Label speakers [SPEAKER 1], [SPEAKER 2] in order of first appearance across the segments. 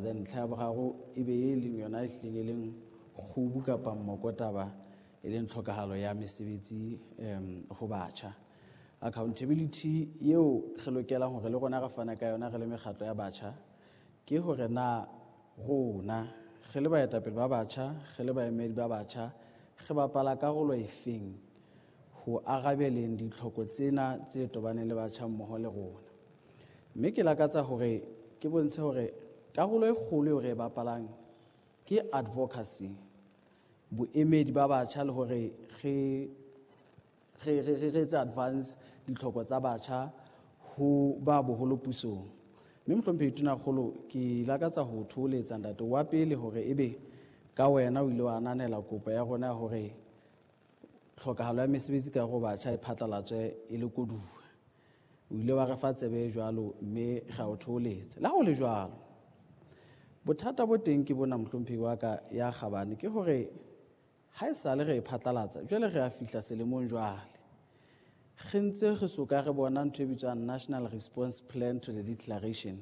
[SPEAKER 1] Then ntlha ya boraro e be e leng yona e hlileng e leng kgubu kapa mmokotaba, e leng tlhokahalo ya mesebetsi ho batjha. Accountability eo re lokelang hore le rona re fane ka yona re le mekgatlo ya batjha ke hore na rona re le baetapele ba batjha, re le baemedi ba batjha, re bapala karolo efeng ho arabeleng ditlhoko tsena tse tobaneng le batjha mmoho le rona. Mme ke lakatsa hore ke bontshe hore karolo e kgolo eo re e bapalang ke advocacy, boemedi ba batjha le hore re etse advance ditlhoko tsa batjha ho ba boholo pusong. Mme mohlomphehi Tonakgolo, ke lakatsa ho thoholetsa ntate wa pele hore ebe ka wena o ile wa ananela kopo ya rona ya hore tlhokahalo ya mesebetsi ka ho batjha e phatlalatswe e le koduwa. O ile wa re fa tsebe jwalo mme ra o thoholetsa. Le ha ho le jwalo, bothata bo teng ke bona mohlomphehi wa ka ya kgabane ke hore ha e sale re e phatlalatsa, jwale re a fihla selemong jwale. Re ntse re soka re bona ntho e bitswang National Response Plan to the Declaration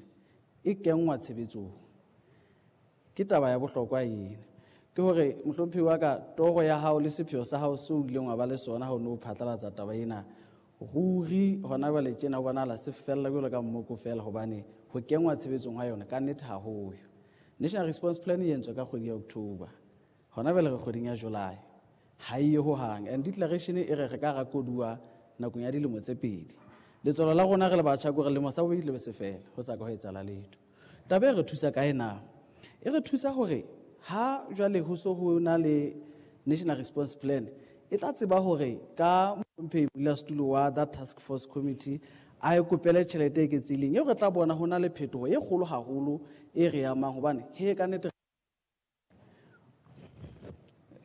[SPEAKER 1] e kenngwa tshebetsong. Ke taba ya bohlokwa ena. Ke hore mohlomphehi wa ka, toro ya hao le sepheo sa hao seo o ileng wa ba le sona ha o ne o phatlalatsa taba ena, ruri hona jwale tjena ho bonahala se fella jwalo ka mmoko feela, hobane ho kenngwa tshebetsong ha yona ka nnete ha ho yo. National Response Plan e entswe ka kgwedi ya October, hona jwale re kgweding ya July, ha e ye hohang. And declaration e re re ka ra koduwa nakong ya dilemo tse pedi. Letswalo la rona re le batjha ke hore lemo sa bobedi tlabe se fela, ho sa ka ho etsahala letho. Taba e re thusa kae na? E re thusa hore ha jwale ho so ho na le National Response Plan, e tla tseba hore ka mohlomphehi modulasetulo wa that task force committee a e kopele tjhelete e eketsehileng eo re tla bona ho na le phetoho e kgolo haholo e re amang, hobane he ka nnete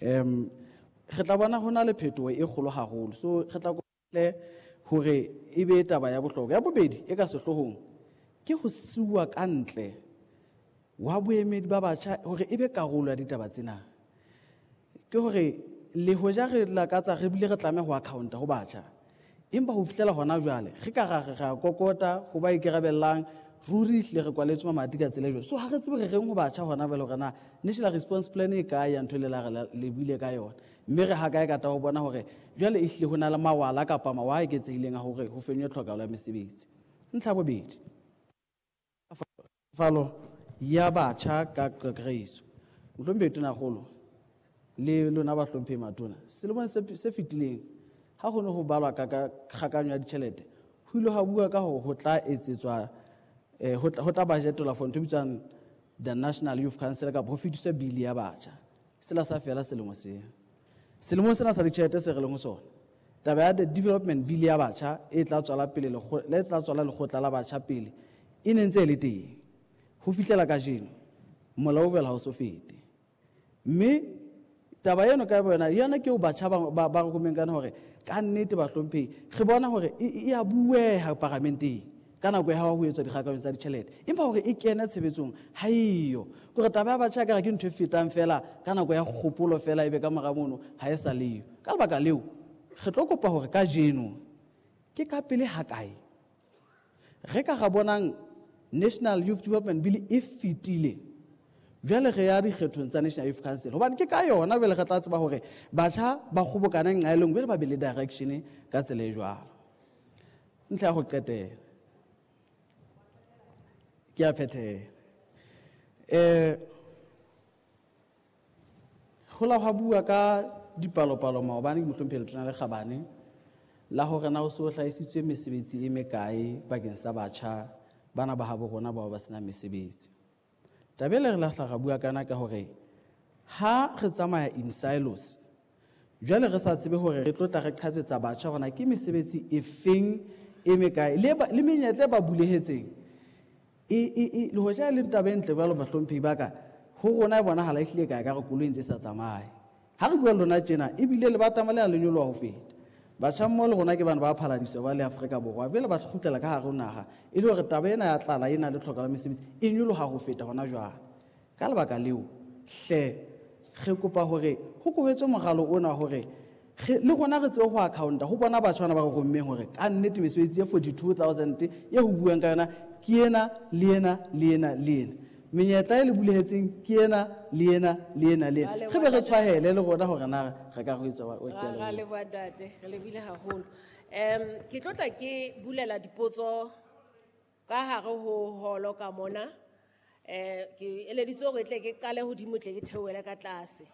[SPEAKER 1] re tla bona ho na le phetoho e kgolo haholo. So re tla kopa hore e be taba ya bohlokwa. Ya bobedi e ka sehloohong ke ho siuwa ka ntle wa boemedi ba batjha hore e be karolo ya ditaba tsena. Ke hore le hoja re lakatsa re bile re tlameha ho accounta ho batjha, empa ho fihlela hona jwale re ka ra re ra kokota ho ba ikarabellang, ruri ehlile re kwaletswe mamati ka tsela e jwalo. So ha re tsebe re reng ho batjha hona jwale hore na National Response Plan e kae ya ntho e le la re le buile ka yona, mme re ha kae ka taba ho bona hore jwale ehlile ho na le mawala kapa mawa a eketsehileng a hore ho fenywe tlhokahalo ya mesebetsi. Ntlha ya bobedi, falo ya batjha ka kakaretso. Mohlomphehi Tonakgolo le lona bahlomphehi matona, selemong se fetileng ha ho ne ho balwa ka kgakanyo ya ditjhelete, ho ile ha bua ka hore ho tla etsetswa, ho tla budgetolwa for ntho e bitswang the National Youth Council kapa ho fetiswe bili ya batjha. Sela sa fela selemo sena. Selemong sena sa ditjhelete se re leng ho sona, taba ya the development bill ya batjha e tla tswala pele le tla tswala lekgotla la batjha pele e ne ntse e le teng ho fihlela kajeno, molao o fela ha o so fete. Mme taba eno ka boyona yona ke eo batjha ba re komeng kana hore ka nnete bahlomphehi re bona hore e a bueha paramenteng ka nako ya ha ho etswa dikgakakanyo tsa ditjhelete, empa hore e kene tshebetsong ha eyo. Ke hore taba ya batjha ekare ke ntho e fetang fela ka nako ya kgopolo fela, ebe ka mora mono ha e sa leyo. Ka lebaka leo re tlo kopa hore kajeno ke ka pele ha kae re ka ra bonang National Youth Development Bill e fetile, jwale re ya dikgethong tsa National Youth Council, hobane ke ka yona jwale re tla tseba hore batjha ba kgobokane nqa e le nngwe, jwale ba be le direction ka tsela e jwalo. Ntlha ya ho qetela ke a phethela. Ho la hwa bua ka dipalopalo maobane ke mohlomphehi Letona le Kgabane la hore na ho so hlahisitswe mesebetsi e mekae bakeng sa batjha bana ba habo rona bao ba senang mesebetsi. Taba e le re lahla ra bua kana ka hore ha re tsamaya in silos, jwale re sa tsebe hore re tlo tla re qhatsetsa batjha hore na ke mesebetsi e feng e mekae le menyetla e ba bulehetseng. Le hoja e le taba e ntle jwalo bahlomphehi ba ka, ho rona e bonahala ehlile ka ekare koloi e ntse e sa tsamaye. Ha re bua le lona tjena, ebile lebatama le a le nyoloha ho feta. Batjha mmoho le rona ke bana ba phaladisa ba le Afrika Borwa, jwale ba kgutlela ka hare ho naha e le hore taba ena ya tlala ena le tlhokahalo ya mesebetsi e nyoloha ho feta hona jwale. Ka lebaka leo hle re kopa hore ho kohetswe moralo ona hore le rona re tsebe ho accounta ho bona batjha bana ba re rommeng hore ka nnete mesebetsi ya 42,000 e ho buang ka yona ke ena le ena le ena le ena. Menyetla e le bulehetseng ke ena le ena le ena le ena.
[SPEAKER 2] Ra leboha,
[SPEAKER 1] Re be re
[SPEAKER 2] ntate.
[SPEAKER 1] tshwahele le rona hore na re ka ho etsa wa- wa- ke a
[SPEAKER 2] Ra
[SPEAKER 1] leboha.
[SPEAKER 2] leboha ntate, re lebile haholo. Ke tlo tla ke bulela dipotso ka hare ho holo ka mona. Ke eleditse hore tle ke qale hodimo tle ke theohele ka tlase.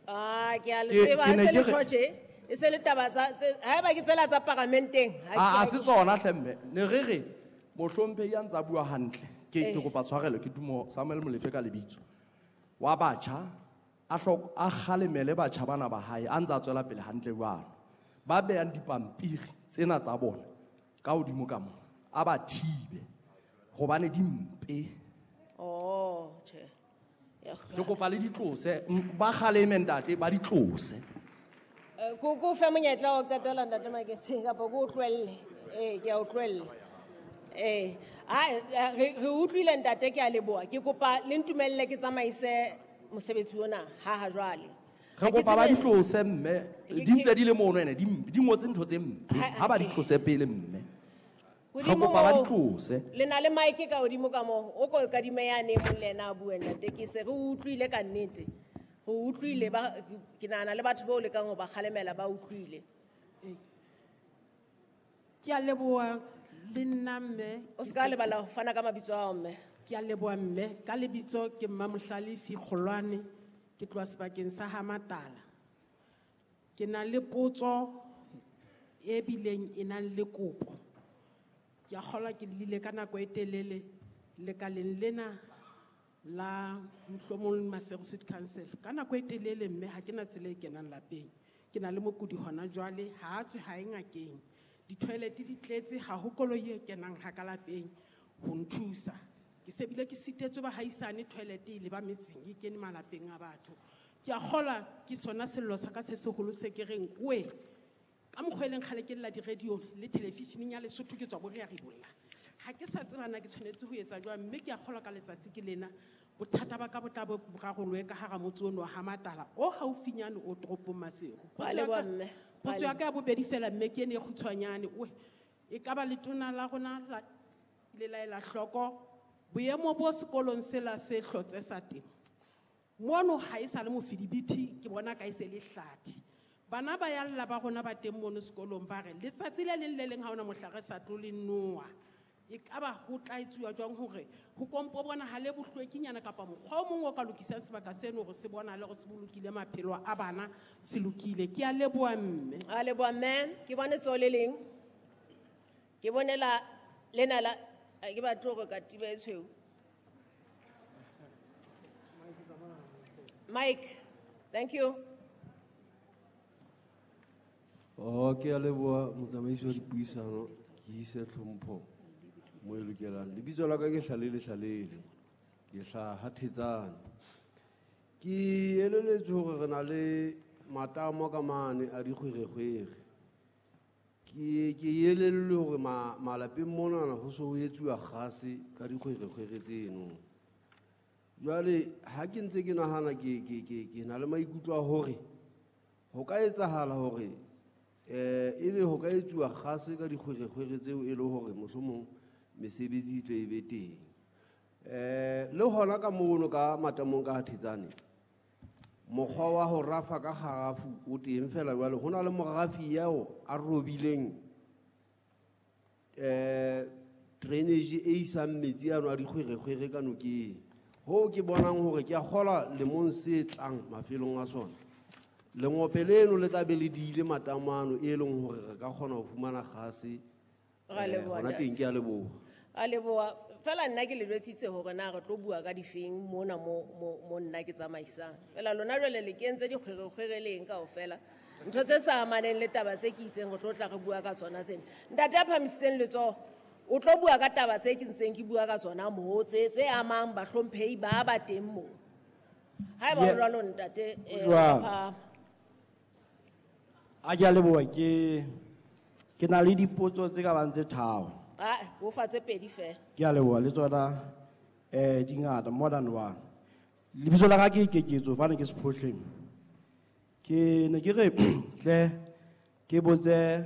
[SPEAKER 2] Ah, ke a le tseba,
[SPEAKER 3] Ke
[SPEAKER 2] ha
[SPEAKER 3] ne
[SPEAKER 2] se le
[SPEAKER 3] ke re-
[SPEAKER 2] tjho tje, e se le taba tsa, tse, haeba ke tsela tsa paramenteng, ha
[SPEAKER 3] A,
[SPEAKER 2] ke-
[SPEAKER 3] a se tsona hle mme. Ne re re, mohlomphehi ya ntsa bua hantle. Ke kopa tshwarelo, ke Tumo Samuel Molefe ka lebitso. Wa batjha, a kgalemele batjha bana ba hae, a ntsa tswela pele hantle jwalo. Ba behang dipampiri tsena tsa bona ka hodimo ka mona, a ba thibe hobane di mpe.
[SPEAKER 2] Oh, tjhe. Ya
[SPEAKER 3] Ke kopa le di tlose, ba kgaleme ntate, ba di tlose.
[SPEAKER 2] Ko fe monyetla wa ho qetela ntate Maketseng kapa ko o tlohelle? Ke a o tlohella. Re utlwile ntate, ke a leboha. Ke kopa le ntumelle ke tsamaise mosebetsi ona ha ha jwale.
[SPEAKER 3] Re
[SPEAKER 2] Ha ke
[SPEAKER 3] kopa ba
[SPEAKER 2] tsebe
[SPEAKER 3] di tlose mme.
[SPEAKER 2] Ke-
[SPEAKER 3] Di ntse di le mono ene, di mpe, di ngotse ntho tse mpe.
[SPEAKER 2] Ha-
[SPEAKER 3] Ha ba di tlose pele mme. Re
[SPEAKER 2] Hodimo
[SPEAKER 3] kopa ba di
[SPEAKER 2] moo,
[SPEAKER 3] tlose.
[SPEAKER 2] Le na le mic ka hodimo ka moo, o ko kadime yane e mong le yena a bue ntate, ke se re utlwile ka nnete. Re utlwile ba, ke nahana le batho bao lekang ho ba kgalemela ba utlwile.
[SPEAKER 4] Ke a leboha le nna mme.
[SPEAKER 2] O se ka lebala ho fana ka mabitso a hao mme.
[SPEAKER 4] Ke a leboha mme, ka lebitso ke Mmamohlalefi Kgolwane, ke tloha sebakeng sa ha Matala. Ke na le potso e bileng e nang le kopo. Ke a kgolwa ke llile ka nako e telele lekaleng lena la mohlomong Maseru City Council. Ka nako e telele mme ha ke na tsela e kenang lapeng. Ke na le mokudi hona jwale, ha a tswe ha e ngakeng. Di-toilet di tletse, ha ho koloi e kenang ha ka lapeng ho nthusa. Ke se bile ke sitetswe bahaisane toilet e le ba metseng e kene malapeng a batho. Ke a kgolwa ke sona sello sa ka se seholo se ke reng, we, ka mokgwa e leng kgale ke lla di-radio le television-eng ya Lesotho ke tswa bo re a ribolla. Ha ke sa tseba na ke tshwanetse ho etsa jwang, mme ke a kgolwa ka letsatsi ke lena bothata ba ka bo tla bo rarolwe ka hara motse ono wa ha Matala o haufinyane o toropong Maseru.
[SPEAKER 2] Ba leboha mme. Ba
[SPEAKER 4] Potso ya ka ya bobedi fela mme ke ene e kgutshwanyane, we, e ka ba letona la rona la ile la ela hloko boemo bo sekolong sela se hlotse sa temo. Mono ha e sa le mofidibiti, ke bona ka e se le hlathi. Bana ba ya lla ba rona ba teng mono sekolong ba re letsatsi le leng le leng ha hona mohla re sa tlo le noa. E ka ba ho tla etsuwa jwang hore ho kompo bonahale bohlwekinyana kapa mokgwa o mong o ka lokisang sebaka seno hore se bonahale hore se bolokile maphelo a bana, se lokile. Ke a leboha mme.
[SPEAKER 2] A leboha mme. Ke bone tsoho le leng. Ke bone la, lena la, ha ke batle hore katiba e tshweu. Mike, thank you.
[SPEAKER 5] Oh, ke a leboha motsamaisi wa dipuisano, ke ise tlhompho mo e lokelang. Lebitso la ka ke Hlalele Hlalele, ke hlaha Thetsane. Ke eleletswe hore re na le matamo ka mane a dikgwerekgwere. Ke elellwe hore malapeng monana ho so ho etsuwa kgase ka dikgwerekgwere tseno. Jwale ha ke ntse ke nahana ke na le maikutlo a hore ho ka etsahala hore, ebe ho ka etsuwa kgase ka dikgwerekgwere tseo e le hore mohlomong mesebetsi e tle e be teng. Le hona ka mono ka matamong ka Thetsane, mokgwa wa ho rafa ka kgarafu o teng fela jwale ho na le morafi eo a robileng, drainage e isang metsi ano a dikgwerekgwere ka nokeng. Hoo ke bonang hore ke a kgolwa lemong se tlang mafelong a sona, lengope leno le tla be le diile matamo ano e leng hore re ka kgona ho fumana kgase.
[SPEAKER 2] Ra leboha,
[SPEAKER 5] Hona teng
[SPEAKER 2] ntate.
[SPEAKER 5] ke a leboha.
[SPEAKER 2] A leboha. Fela nna ke le jwetsitse hore na re tlo bua ka difeng mona mo nna ke tsamaisang. Fela lona jwale le kentse dikgwerekgwere le eng kaofela. Ntho tse sa amaneng le taba tse ke itseng re tlo tla re bua ka tsona tsena. Ntate a phahamisitseng letsoho, o tlo bua ka taba tse ke ntseng ke bua ka tsona moo, tse amang bahlomphehi ba ba teng moo. Haeba ho jwalo ntate,
[SPEAKER 6] Jwang?
[SPEAKER 2] phahama.
[SPEAKER 6] A ke a leboha, ke na le dipotso tse ka bang tse tharo.
[SPEAKER 2] Ah, o fa tse pedi fela.
[SPEAKER 6] Ke a leboha le tsona, di ngata, more than one. Lebitso la ka ke Keketso, fane ke Sephohleng. Ke ne ke re tle ke botse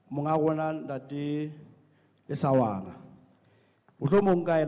[SPEAKER 6] monga rona ntate Lesawana. Mohlomong ka